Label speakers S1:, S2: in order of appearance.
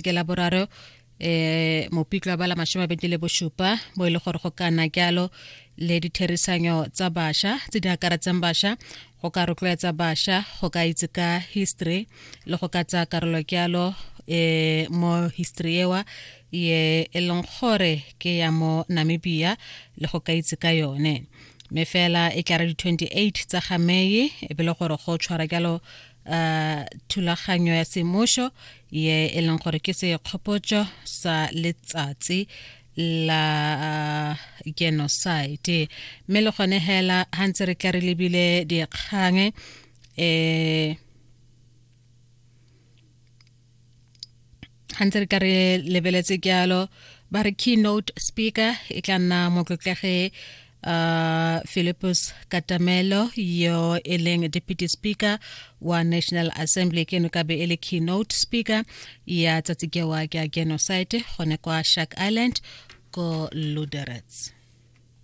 S1: Ke la boraro Mopitlo ba la 27 bo e le gore go ka nna jalo le ditherisanyo tsa bašwa tse di akaretsang bašwa go ka rotloetsa bašwa go ka itse ka history le go ka tsaya karolo jalo mo history ewa ye e leng gore ke ya mo Namibia le go ka itse ka yone. Mme fela e tla re di-28 tsa ga Mei e be le gore go tshwara jalo thulaganyo ya semmušo ye e leng gore ke sekgopotso sa letsatsi la genocide. Mme le gone hela ha ntse re tla re lebile dikgang, ha ntse re ka re lebeletse jalo, ba re keynote speaker e tla nna motlotlegi Philippus Katamelo yo e leng deputy speaker wa National Assembly, ke no ka be e le keynote speaker ya tsatsi kewa ke ya genocide gone kwa Shark Island ko Luderitz.